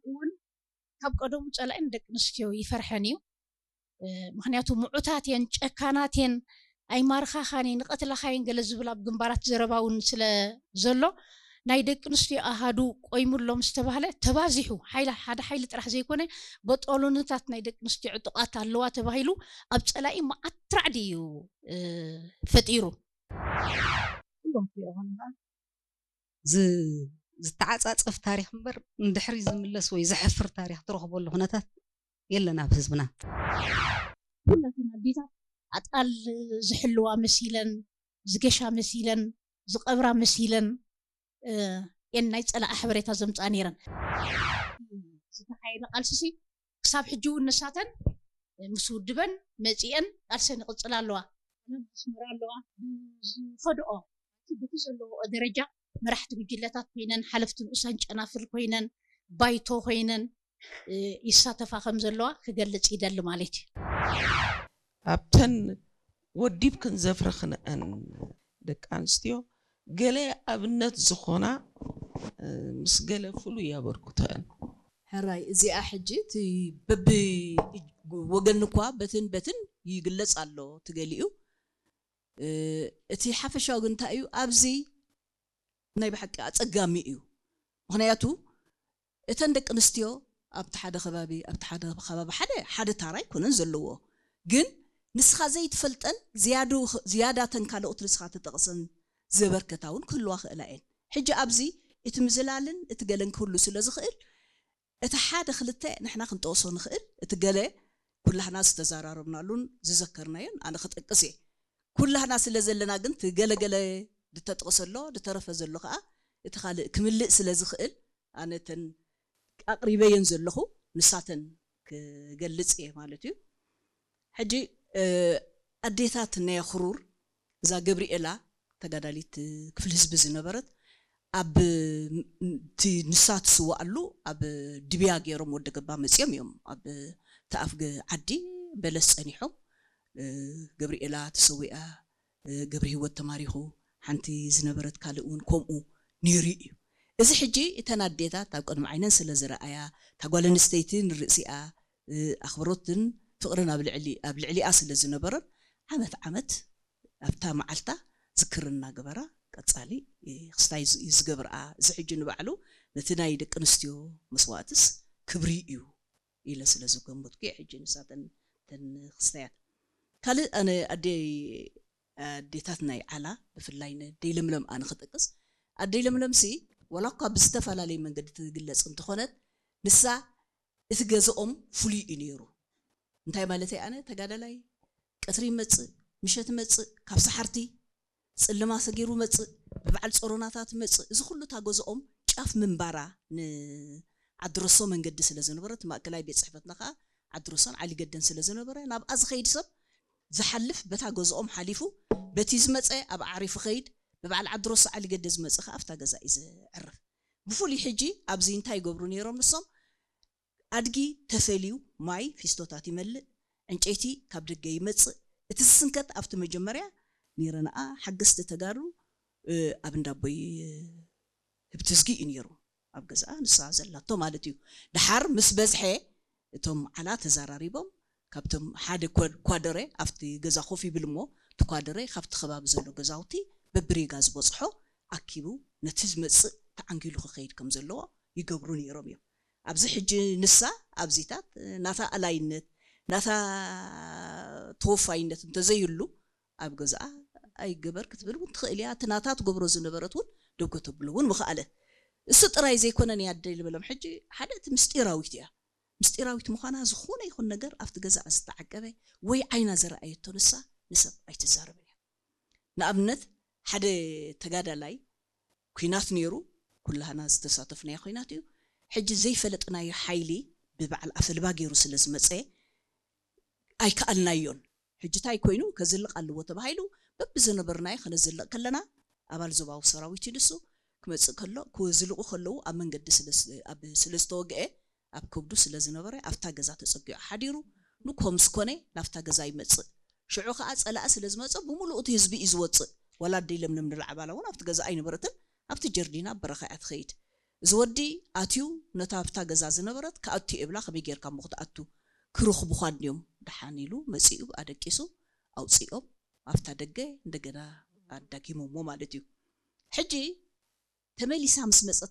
እውን ካብ ቀደሙ ጸላኢ ንደቂ ኣንስትዮ ይፈርሐን እዩ። ምክንያቱ ምዑታት የን፣ ጨካናት የን፣ ኣይማርኻኻን እየ፣ ንቐትላኻየን ገለ ዝብል ኣብ ግንባራት ዘረባ እውን ስለ ዘሎ፣ ናይ ደቂ ኣንስትዮ ኣሃዱ ቆይሙሎም ዝተባህለ ተባዚሑ፣ ሓይላ ሓደ ሓይሊ ጥራሕ ዘይኮነ፣ በጦሎንታት ናይ ደቂ ኣንስትዮ ዕጡቓት ኣለዋ ተባሂሉ ኣብ ጸላኢ መዓት ራዕዲ እዩ ፈጢሩ። ኩሎም ክሪኦ ከለካ ዝተዓፃፀፍ ታሪክ እምበር ንድሕሪ ዝምለስ ወይ ዘሕፍር ታሪክ ትረክበሉ ኩነታት የለን ኣብ ህዝብና። ኩላተን ኣዴታት ኣጣል ዝሕልዋ መሲለን፣ ዝገሻ መሲለን፣ ዝቐብራ መሲለን እየን ናይ ፀላኢ ሓበሬታ ዘምፅኣ ነይረን። ዝተኻየደ ቃልስሲ ክሳብ ሕጂ እውን ንሳተን ምስ ውድበን መፂአን ቃልሰን ይቕፅላ ኣለዋ። ኣስመራ ኣለዋ። ብዝኸድኦ በቲ ዘለዎኦ ደረጃ መራሕቲ ጉጅለታት ኮይነን፣ ሓለፍቲ ንኡሳን ጨናፍር ኮይነን፣ ባይቶ ኮይነን ይሳተፋ ከም ዘለዋ ክገልፅ ይደሊ ማለት እዩ። ኣብተን ወዲብ ክንዘፍረ ክንአን ደቂ ኣንስትዮ ገለ ኣብነት ዝኾና ምስ ገለ ፍሉይ ኣበርክቶአን። ሕራይ እዚኣ ሕጂ እቲ በቢ ወገን እኳ በትን በትን ይግለጽ ኣሎ ትገሊኡ እቲ ሓፈሻዊ ግን እንታይ እዩ ኣብዚ ናይ ብሓቂ ኣጸጋሚ እዩ ምክንያቱ እተን ደቂ ኣንስትዮ ኣብቲ ሓደ ከባቢ ኣብቲ ሓደ ከባቢ ሓደ ሓደ ታራ ኣይኮነን ዘለዎ ግን ንስኻ ዘይትፈልጠን ዝያዳተን ካልኦት ንስኻ ተጠቕሰን ዘበርከታ እውን ክህልዋ ክእላ እየን ሕጂ ኣብዚ እቲ ምዝላልን እቲ ገለን ክህሉ ስለ ዝኽእል እቲ ሓደ ክልተ ንሕና ክንጠቕሶ ንኽእል እቲ ገለ ኩላህና ዝተዘራረብናሉን ዝዘከርናዮን ኣነ ክጠቅስ እየ ኩላህና ስለ ዘለና ግን እቲ ገለገለ ዝተጠቕሰ ኣሎ ዝተረፈ ዘሎ ከዓ እቲ ካልእ ክምልእ ስለ ዝኽእል ኣነ ተን ኣቕሪበየን ዘለኹ ንሳተን ክገልጽ እየ ማለት እዩ ሕጂ ኣዴታት ናይ ክሩር እዛ ገብርኤላ ተጋዳሊት ክፍሊ ህዝቢ ዝነበረት ኣብ እቲ ንሳ ትስዋኣሉ ኣብ ድብያ ገይሮም ወደ ገባ መፅኦም እዮም ኣብ ተኣፍገ ዓዲ በለስ ፀኒሖም ገብርኤላ ተሰዊኣ ገብረ ህይወት ተማሪኹ ሓንቲ ዝነበረት ካልእ እውን ከምኡ ነይሩ እዩ እዚ ሕጂ እተን ኣዴታት ኣብ ቅድሚ ዓይነን ስለ ዝረኣያ እታ ጓል ኣንስተይቲ ንርእሲኣ ኣኽብሮትን ፍቕርን ኣብ ልዕሊ ኣብ ልዕሊኣ ስለ ዝነበረን ዓመት ዓመት ኣብታ መዓልታ ዝክር እናገበራ ቀጻሊ ክስታይ እዩ ዝገብርኣ እዚ ሕጂ ንባዕሉ ነቲ ናይ ደቂ ኣንስትዮ መስዋእትስ ክብሪ እዩ ኢለ ስለ ዝገመትኩ እየ ሕጂ ንሳተን ተን ክስታያት ካልእ ኣነ ኣደይ ኣዴታት ናይ ዓላ ብፍላይ ነደይ ለምለም ኣነ ክጠቅስ ኣደይ ለምለምሲ ዋላ እኳ ብዝተፈላለየ መንገዲ ትግለፅ እንተኾነት ንሳ እቲ ገዝኦም ፍሉይ እዩ ነይሩ እንታይ ማለተይ ኣነ ተጋዳላይ ቀትሪ ይመፅእ ምሸት ይመፅእ ካብ ሰሓርቲ ፅልማ ሰጊሩ መፅእ ብበዓል ፀሮናታት መፅእ እዚ ኩሉ እታ ገዝኦም ጫፍ ምንባራ ንዓድረሶ መንገዲ ስለ ዝነበረ እቲ ማእከላይ ቤት ፅሕፈትና ከዓ ዓድረሶን ዓሊገደን ስለ ዝነበረ ናብኣ ዝኸይድ ሰብ ዝሓልፍ በታ ገዝኦም ሓሊፉ በቲ ዝመፀ ኣብ ዓሪፉ ኸይድ ብበዓል ዓድረሶ ዓሊገደ ዝመፅእ ከዓ ኣብታ ገዛ እዩ ዝዕርፍ ብፍሉይ ሕጂ ኣብዚ እንታይ ይገብሩ ነይሮም ንሶም ኣድጊ ተፈልዩ ማይ ፊስቶታት ይመልእ፣ ዕንጨይቲ ካብ ደገ ይመጽእ። እቲ ዝስንከት ኣብቲ መጀመርያ ኒረንኣ ሓገዝቲ ተጋሩ ኣብ እንዳቦይ ህብትዝጊ እዩ ነይሩ ኣብ ገዝኣ ንሳ ዘላቶ ማለት እዩ። ደሓር ምስ በዝሐ እቶም ዓላ ተዘራሪቦም ካብቶም ሓደ ኳደረ ኣብቲ ገዛ ኮፍ ይብል እሞ እቲ ኳደረ ካብቲ ከባቢ ዘሎ ገዛውቲ በብሪጋ ዝበፅሖ ኣኪቡ ነቲ ዝመፅእ ተዓንጊሉ ክኸይድ ከም ዘለዎ ይገብሩ ነይሮም እዮም። ኣብዚ ሕጂ ንሳ ኣብዚታት ናታ ኣላይነት ናታ ተወፋይነት እንተዘይህሉ ኣብ ገዝኣ ኣይገበር ክትብል እውን ትኽእል እያ። እቲ ናታ ትገብሮ ዝነበረት እውን ደጎ ተብሎ እውን ምኽኣለት። እሱ ጥራይ ዘይኮነ ናይ ኣደይ ልበሎም ሕጂ ሓደ እቲ ምስጢራዊት እያ። ምስጢራዊት ምዃና ዝኾነ ይኹን ነገር ኣብቲ ገዛኣ ዝተዓቀበ ወይ ዓይና ዝረኣየቶ ንሳ ንሰብ ኣይትዛረብን እያ። ንኣብነት ሓደ ተጋዳላይ ኲናት ነይሩ፣ ኩላህና ዝተሳተፍናዮ ኲናት እዩ። ሕጂ ዘይፈለጥናዮ ሓይሊ ብበዓል ኣፈልባ ገይሩ ስለ ዝመፀ ኣይከኣልናዮን። ሕጂ ታይ ኮይኑ ከዝልቕ ኣለዎ ተባሂሉ በብዝነበርናዮ ከነዝልቕ ከለና ኣባል ዞባዊ ሰራዊት እዩ ንሱ ክመፅእ ከሎ ክዝልቑ ከለዉ ኣብ መንገዲ ስለ ዝተወግአ ኣብ ከብዱ ስለ ዝነበረ ኣብታ ገዛ ተፀጊዑ ሓዲሩ ንግሆ ምስ ኮነ ናብታ ገዛ ይመፅእ። ሽዑ ከዓ ፀላኢ ስለ ዝመፀ ብምሉኡ እቲ ህዝቢ እዩ ዝወፅእ። ዋላ ኣደይ ለምለም ንላዕባላ እውን ኣብቲ ገዛ ኣይነበረትን ኣብቲ ጀርዲን ኣብ በረኻ እያ ትኸይድ። እዚ ወዲ ኣትዩ ነታ ኣብታ ገዛ ዝነበረት ክኣቱ እብላ ከመይ ጌርካ እሞ ክትኣቱ ክረኽቡኻ እንድዮም ደሓን ኢሉ መጺኡ ኣደቂሱ ኣውጺኦም ኣብታ ደገ እንደገና ኣዳጊሞሞ ማለት እዩ። ሕጂ ተመሊሳ ምስ መጸት